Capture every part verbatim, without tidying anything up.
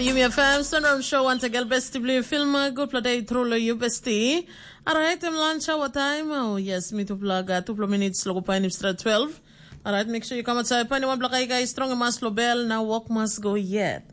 Yumi F M Sunrise Show once again, besti bli film, uh, good play day through lo you besti. Alright, em lunch hour time. Oh yes, mi tupla ga tupla minutes lo go painim stra twelve. Alright, make sure you come outside. Pani one black guy strong mas lo bell, now walk must go yet.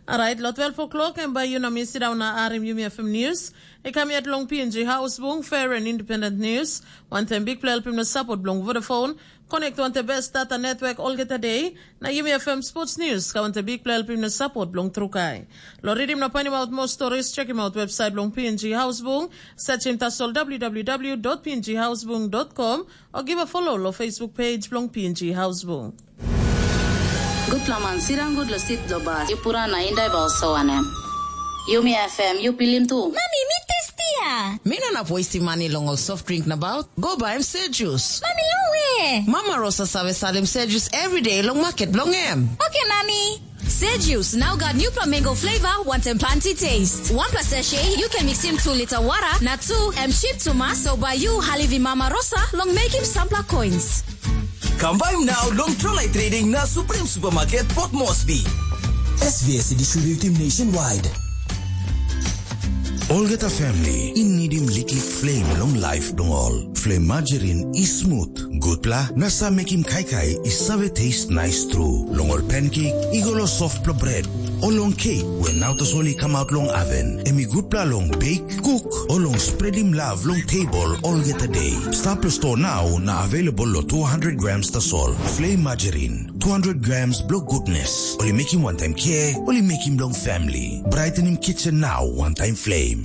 Alright, lo twelve o'clock and by you na mi sit down na arim Yumi F M news. E kam yet long P N G House Bung, fair and independent news. One time big play helping the support belong Vodafone. Connect on the best data network all get a day. Na Yumi F M Sports News, ka on the big play helping the support belong Trukai. Lo read him na find him out more stories, check him out website belong P N G House Bung. Search him tasol w w w dot p n g house bung dot com or give a follow lo Facebook page belong P N G House Bung. Gutpela man sirang gut lo sit lo bas. Yu pura na indai ba oso wanem? Yumi F M, yu pilim tu. Mami, mi testia. Mi no inap wastim mani long ol soft drink nabaut. Go baim se jus. Mami, long we? Mama Rosa save salim se jus everyday long market bilong em. Oke, Mami. Se jus, now got nupla mango flavor, wanten planti taste. Wanpla sachet, you can mix in two liter water, na two, em cheap too much, so by you, halivi Mama Rosa, long making sampla coins. Kam baim nau long Trolai Trading na Supreme Supermarket Port Moresby. S V S i distributim nationwide. Olgeta family i nidim liklik flame long life bilong ol. Flame margarine i smooth, gutpela na sa mekim kaikai i save taste nice tru. Long ol pancake i go lo softpela bread, o long cake we nau tasol i come out long oven. Em i gutpela long bake, cook, o long spreadim love long table olgeta day. Stap lo store now na available lo two hundred grams tasol. Flame margarine, two hundred grams blo goodness. Oli making one time care, oli making long family. Brightening kitchen now, one time flame.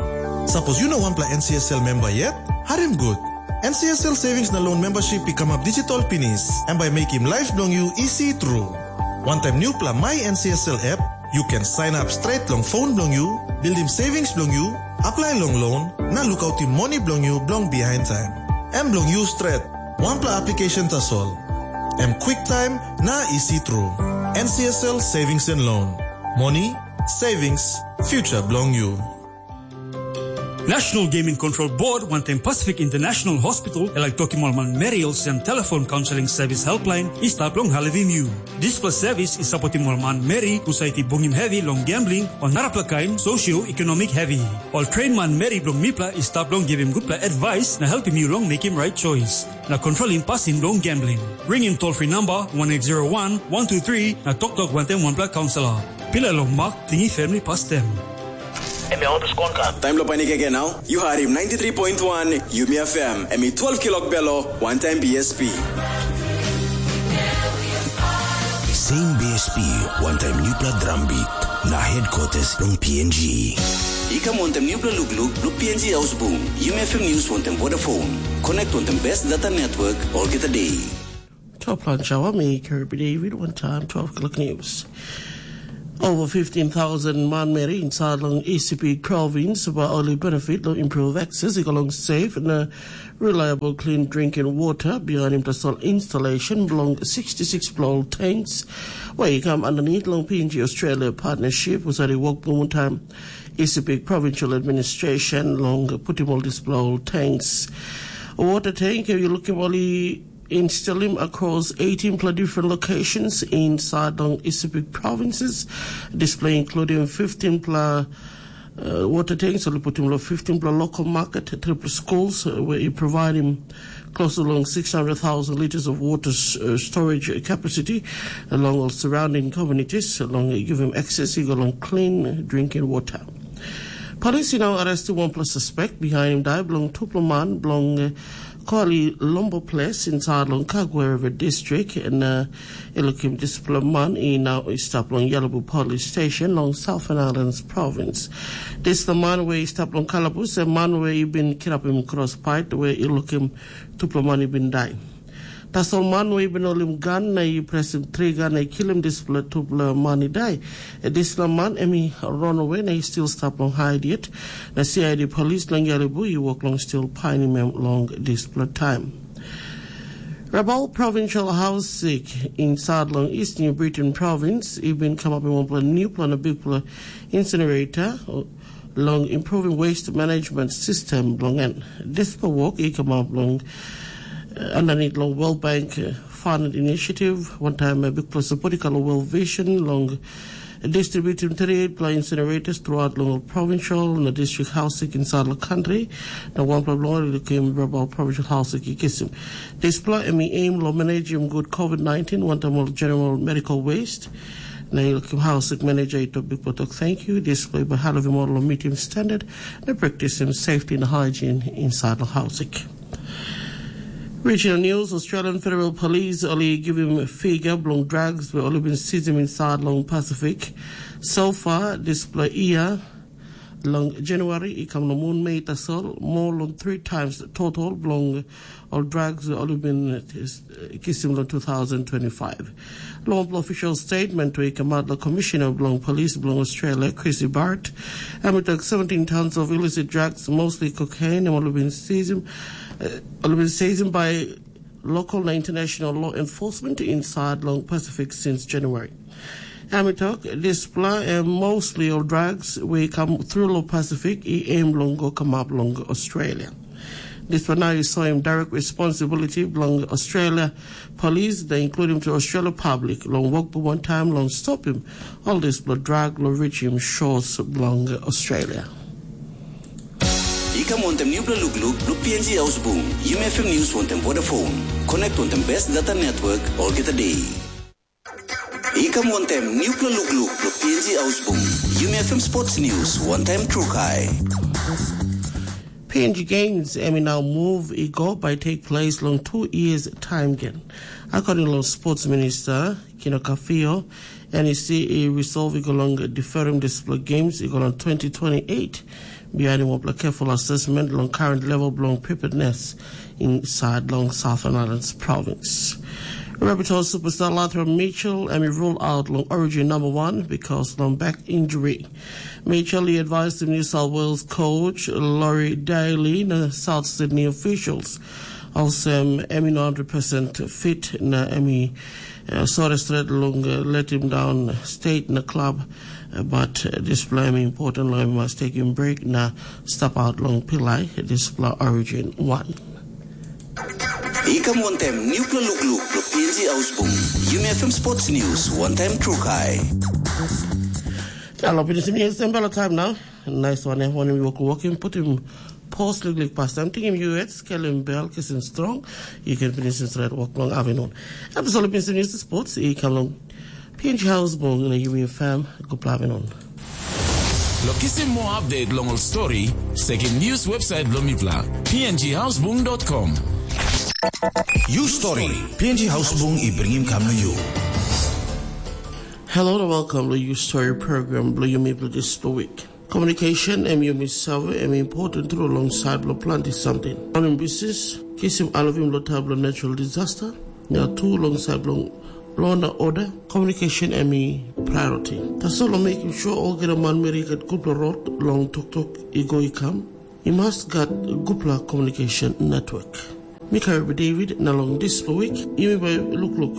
Sapos yu no wanpela N C S L memba yet, harim gut. N C S L Savings na Loan Membership i kamap digital pinis, em bai mekim laip bilong yu isi tru. Wantaim nupela My N C S L app, yu ken sign up straight long phone bilong yu, buildim savings bilong yu, apply long loan, na lukautim moni bilong yu bilong behind time. Em bilong yu stret, wanpela application tasol. Em quick time na isi tru. N C S L Savings and Loan. Moni, savings, future bilong yu. National Gaming Control Board wantaim Pacific International Hospital e laik tokim ol manmeri olsem telefon kaunseling sevis helpline i stap long helpim yu. Dispela sevis i sapotim ol manmeri husat i bungim hevi long gambling o narapela kain sosioekonomik hevi. Ol train manmeri bilong mipela i stap long givim gutpela advice na helpim yu long mekim rait choice na kontrolim pasin bilong gambling. Ringim toll-free namba one eight zero one, one two three na toktok wantaim wanpela kaunselor. Pilai long mak, tingim family pastem. Em ya olpes konkan. Taim lo panik again now. You heard him ninety-three point one Yumi F M. Em i twelve kilok belo, one time B S P. Same B S P, one time newpla drum beat. Na headquarters long P N G. I kam wantaim newpla lukluk, lo P N G House Boom. Yumi F M News wantaim Vodafone. Connect wantaim best data network, olgeta day. Top lunch hour, me, Kirby David, one time, twelve o'clock news. Over fifteen thousand manmeri inside long East Sepik province were only benefit long improve access i go long safe na reliable clean drinking water behind him tasol installation belong sixty-six blow tanks where he come underneath long P N G Australia partnership was already work one time East Sepik provincial administration long put him all this blow tanks. Water tank, you look him only install him across eighteen pla different locations inside long East Sepik provinces, display including fifteen pla uh, water tanks, only put him lo fifteen pla local market, triple schools, uh, where he provide him close along six hundred thousand liters of water s- uh, storage capacity along all surrounding communities, along uh, give him access, he go along clean drinking water. Police now arrested one plus suspect behind him die belong two plus man belong uh, Kuali Lombo Place inside long Kagwereve district, and uh, e lukim dispela man i nau i stap long Yalabu Police Station long Southern Islands Province. Dispela man where i stap long kalabus, a man where i bin kirapim cross fight where i lukim tupela man i bin dai. Tasol man where i bin holim gan na i presim tri gan na i kilim dispela tupela man i dai. E dispela man em i run away na i still stap long hide yet. Na C I D police long Yalibu i work long still painim em long dispela time. Rabaul Provincial House Sik inside long East New Britain Province i bin come up in one plan new plan a big plan incinerator long improving waste management system belong en. This work i come up long uh, underneath long World Bank uh, Fund Initiative, one time a big plus support i call World Vision long distributim thirty-eight pla incinerators throughout long provincial na district housing inside the country. Na one pla long i lukim Rabaul provincial housing i kisim. This pla emi aim lo managing good COVID nineteen, one time all general medical waste. Na i lukim housing manager i to big talk thank you. This pla by half more lo meeting standard, na practicing safety and hygiene inside the housing. Regional news, Australian Federal Police only give him a figure belong drugs where only been seized him inside long Pacific. So far, this year, long January, i kam long moon May tasol, more than three times the total belong all drugs where only been uh, kisim long two thousand twenty-five. Long official statement to i come out the Commissioner belong Police belong Australia, Chrissy Bart, and we took seventeen tons of illicit drugs, mostly cocaine, and only been seized, uh, only been seized by local na international law enforcement inside long Pacific since January. Em i tok, dispela em mostly ol drugs we come through long Pacific i aim long go kamap long Australia. Dispela now i soim direct responsibility belong Australia police, they including to Australia public, long work for one time long stop him, all dispela drug lo reach him shores belong Australia. I kam wantem newpela lukluk blo P N G Ausbung, Yumi F M News wantem Vodafone. Connect wantem best data network olgeta day. I kam wantem newpela lukluk blo P N G Ausbung, Yumi F M Sports News, one time Trukai. P N G Games, em i now move i go by take place long two years time again. According long Sports Minister Kino Kafio, N E C i resolve i go long deferring dispela games i go long twenty twenty-eight. Behind him, careful assessment long current level belong preparedness inside long Southern Islands province. Rabbitoh superstar Lathra Mitchell, em i rule out long origin number one because long back injury. Mitchell i advise the New South Wales coach Laurie Daly na South Sydney officials. Olsem, em i no one hundred percent fit na em i uh, sore stret long uh, let him down state na club, uh, but uh, dispela em important long em mas taking break na step out long pilai dispela origin one. I kam wantem newpela lukluk blo P N G Ausbung, Yumi F M Sports News, one time Trukai. Alo, pinisim yes, em bela time now. Nice one, eh, wanem i wok wokim, putim pos liklik pastam, tingim yu et, skelim bel, kisim strong, you can finish this red work long afternoon. Episode of Mister News Sports, i kam long P N G House Bong na Yumi F M, gupla afternoon. Lo kisim more update long ol story, sekim news website blo mipla, P N G housebung dot com. You story, P N G Housebung i bringim kam na you. Hello and welcome to your story program, blo Yumi blo this week. Communication em yumi save em important tru long side blo planti samting. Running business, kisim alvim lo tab lo natural disaster, na tu long side blo law na order, communication em i priority. Tasol lo making sure olgeta manmeri get gutpela rot long toktok i go i kam, i mas gat gutpela communication network. Mi karim David na long dispela wik, yumi bai lukluk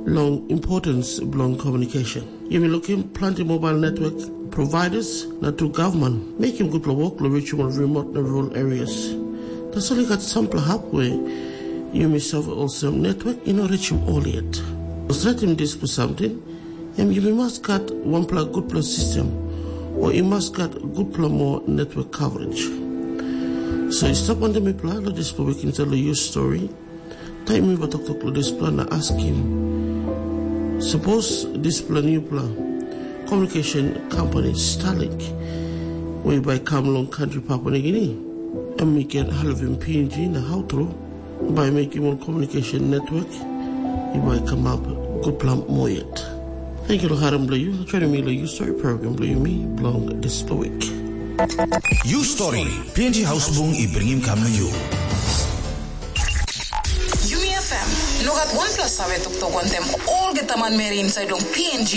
long importance bilong communication. Yumi lukim planti mobile network providers na tu gavman mekim gutpela wok long reachim ol remote na rural areas. Tasol i gat sampela hap we yumi save olsem network i no reachim ol yet. Stretim dispela samting, em yumi mas gat wanpela gutpela sistem, o i mas gat gutpela moa network coverage. So i stap wantaim mipela long dispela wik insait long yus stori, taim mi bai toktok long dispela na askim, sapos dispela newpela communication company Starlink we bai kam long kantri Papua Nigini, em i ken helpim P N G na hau tru bai mekim ol communication network i bai kamap gutpela moa yet. Thank you long harim bilong yu, joining mi long yu story program bilong yumi bilong dispela week. You story, P N G House Bung i bringim kam na you. Yumi F M, no gat wanpela save toktok wantem olgeta manmeri inside long P N G.